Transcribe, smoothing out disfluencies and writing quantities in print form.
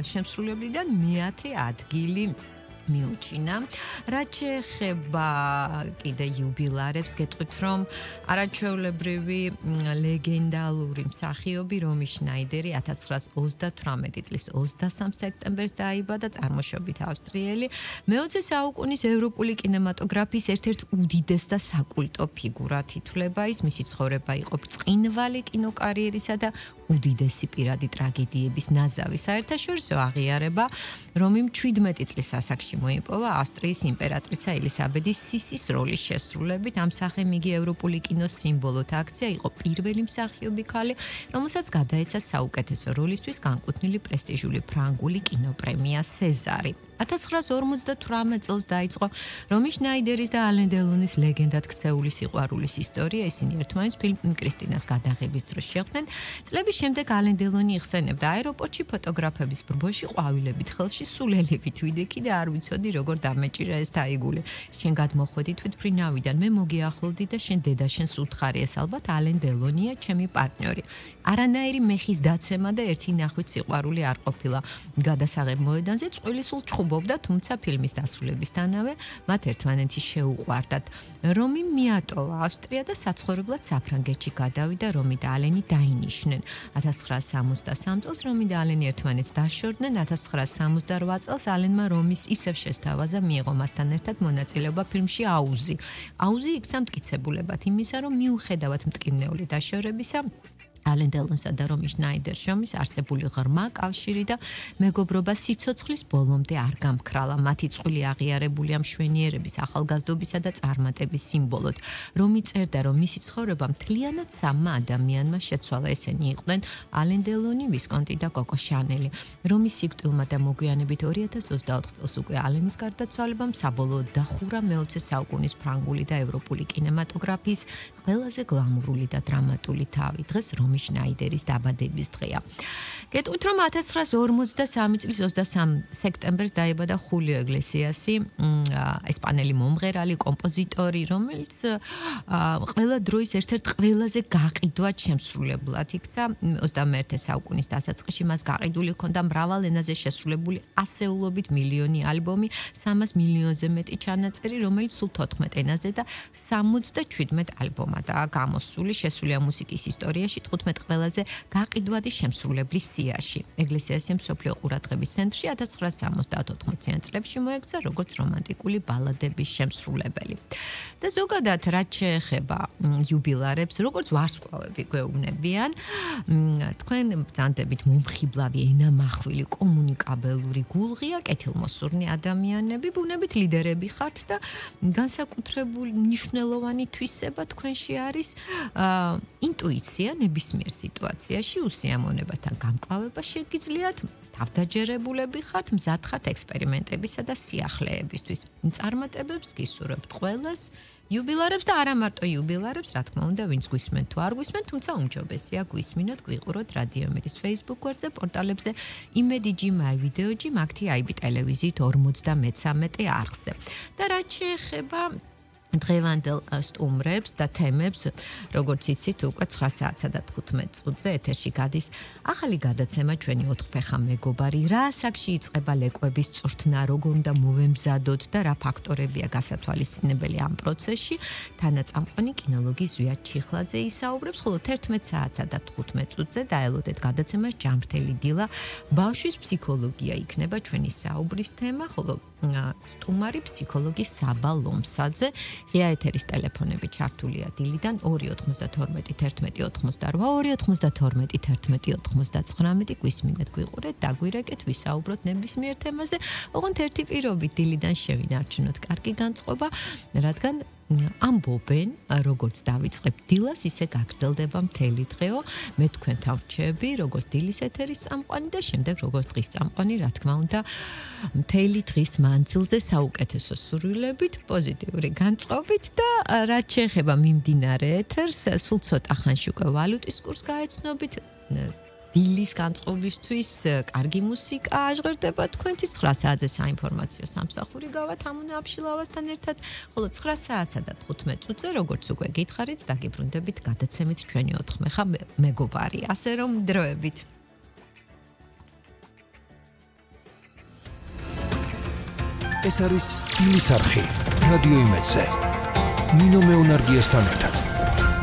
შემსრულებლიდან მე-10 ადგილი მიუჩინა. რაც შეეხება კიდე იუბილარებს, გეტყვით რომ არაჩვეულებრივი ლეგენდალური მსახიობი რომი შნაიდერი 1938 წლის 23 სექტემბერს დაიბადა, წარმოშობით ავსტრიელი. მე-20 საუკუნის ევროპული კინემატოგრაფიის ერთ-ერთ უდიდეს და საკულტო ფიგურად ითვლება ის. მისი ცხოვრება იყო ბრწყინვალე კინოკარიერისა და უდიდესი პირადი ტრაგედიების ნაზავი. საერთაშორისო აღიარება, რომიმ 17 წლის ასაკში მოიპოვა ავსტრიის იმპერატრიცა ელისაბედის სისის როლის შესრულებით. ამ სახემ იგი ევროპული კინოს სიმბოლოდ აქცია, იყო პირველი მსახიობი ქალი, რომელსაც გადაეცა საუკეთესო როლისთვის განკუთვნილი პრესტიჟული ფრანგული კინოპრემია სეზარი. 1958 წელს დაიწყო რომი შნაიდერის და ალენ დელონის ლეგენდად ქცეული სიყვარულის ისტორია. ისინი ერთმანეთს ფილმ კრისტინას გადაღების დროს შეხვდნენ. წლების შემდეგ ალენ დელონი იხსენებდა აეროპორტში ფოტოგრაფების ბრბოში ყვავილებით ხელში სულელებით ვიდექი და არ ვიცოდი როგორ დამეჭირა ეს დაიგული. შენ გადმოხვედი თვითმფრინავიდან, მე მოგიახლოვდი და შენ დედა შენს უთხარიეს, ალბათ ალენ დელონია ჩემი პარტნიორი. არანაირი მეხის დაცემა და ერთი ნახვით სიყვარული არ ყოფილა. გადასაღებ მოედანზე წყვილი სულ ჩხუბობდა, თუმცა ფილმის დასრულებისთანავე მათ ერთმანეთი შეუყვარდათ. რომი მიატოვა ავსტრია და საცხოვრებლად საფრანგეთში გადავიდა. რომი და ალენი დაინიშნენ. 1963 წელს რომი და ალენი ერთმანეთს დაშორდნენ. 1968 წელს ალენმა რომის ისევ შესთავაზა, მიიღო მასთან ერთად მონაწილეობა ფილმში აუზი. აუზი იქცა მტკიცებულებად იმისა, რომ მიუხედავად მტკივნეული დაშორებისა, ალენ დელონსა და რომი შნაიდერს შორის არსებული ღრმა კავშირი და მეგობრობა სიცოცხლის ბოლომდე არ გამქრალა. მათი წყვილი აღიარებულია მშვენიერების, ახალგაზრდობისა და წარმატების სიმბოლოდ. რომი წერდა, რომ მისი ცხოვრება მთლიანად სამმა ადამიანმა შეცვალა. ესენი იყვნენ ალენ დელონი, ვისკონტი და კოკო შანელი. რომის სიკვდილმა და მოგვიანებით 2024 წელს უკვე ალენის გარდაცვალებამ საბოლოოდ დახურა მე-20 საუკუნის ფრანგული და ევროპული კინემატოგრაფიის ყველაზე გლამურული და დრამატული თავი. დღეს რომი შნაიდერის დაბადების დღეა. გეტყვით რომ 1953 წლის 23 სექტემბერს დაიბადა ხულიო ეგლესიასი, ესპანელი მომღერალი, კომპოზიტორი, რომელიც ყველა დროის ერთ-ერთ ყველაზე გაყიდვად შემსრულებლად იქცა. 21 საუკუნის დასაწყისში მას გაყიდული ჰქონდა მრავალ ენაზე შესრულებული ასეულობით მილიონი ალბომი, 300 მილიონზე მეტი ჩანაწერი, რომელიც სულ 14 ენაზე და 77 ალბომადაა გამოსული შესულია მუსიკის ისტორიაში 15 ყველაზე გაყიდვადი შემსრულებლის სიაში. ეგლესიასი მსოფლიო ყურადღების ცენტრში 1974 წლებში მოექცა როგორც რომანტიკული ბალადების შემსრულებელი. და ზოგადად რაც შეეხება იუბილარებს, როგორც ვარსკვლავები გვეუბნებიან, თქვენ ბრძანდებით მომხიბლავი, ენამახვილი, კომუნიკაბელური გულღია, კეთილმოსურნი ადამიანები, ბუნებით ლიდერები ხართ და განსაკუთრებული მნიშვნელოვანი თვისება თქვენში არის ინტუიცია ნებისმიერ სიტუაციაში, უსიამოვნებასთან გამკლავება შეგიძლიათ, თავდაჯერებულები ხართ, მზად ხართ ექსპერიმენტებისა და სიახლეებისთვის. წარმატებებს გისურვებთ ყველას, იუბილარებს და არა მარტო იუბილარებს, რა თქმა უნდა, ვინც გვისმენთ თუ არ გვისმენთ, თუმცა უმჯობესია გვისმინოთ, გვიყუროთ რადიო იმედის Facebook გვერდზე, პორტალებზე იმედიჯი, მაივიდეოჯი, მაგთი IB ტელევიზიით 53 არხზე. და რაც შეეხება დღევანდელ სტუმრებს და თემებს, როგორც იცით, უკვე 9 საათსა და 15 წუთზე ეთერში გადის ახალი გადაცემა ჩვენი 4 ფეხა მეგობარი. რა ასაკში იწყება ლეკვების წვრთნა, როგორ უნდა მოვემზადოთ და რა ფაქტორებია გასათვალისწინებელი ამ პროცესში. თანაწამყვანი კინოლოგი ზვიად ჩიხლაძე ისაუბრებს, ხოლო 11 საათსა და 15 წუთზე დაელოდეთ გადაცემას ჯამრთელი დილა. ბავშვის ფსიქოლოგია იქნება ჩვენი საუბრის თემა, ხოლო სტუმარი ფსიქოლოგი საბა ლომსაძე. ღია ეთერის ტელეფონები ჩართულია დილიდან 292 11 88 292 11 99 გვისმინეთ, გვიყურეთ, დაგვირეკეთ, ვისაუბროთ ნებისმიერ თემაზე. ოღონდ ერთი პირობით დილიდან შევინარჩუნოთ კარგი განწყობა, რადგან ამბობენ, როგორც დავიწყებთ დილას, ისე გაგრძელდება მთელი დღეო. მე თქვენთან ვრჩები, როგორც დილის ეთერის წამყვანი და შემდეგ როგორც დღის წამყვანი, რა თქმა უნდა, მთელი დღის მანძილზე საუკეთესო სურვილებით, პოზიტიური განწყობით და რაც შეეხება მიმდინარე ეთერს, სულ ცოტა ხანში უკვე ვალუტის კურსს გაეცნობით. დილის განწყობისთვის კარგი მუსიკა აჟღერდება თქვენთვის 9 საათზე საინფორმაციო სამსახური გავათ ამონა აფშილავასთან ერთად, ხოლო 9 საათსა და 15 წუთზე როგორც უკვე გითხარით, დაგიბრუნდებით გადაცემით ჩვენი 4 მეხა მეგობარი, ასე რომ დროებით. ეს არის დილის არხი რადიო იმედზე. ნინო მეუნარგიასთან ერთად.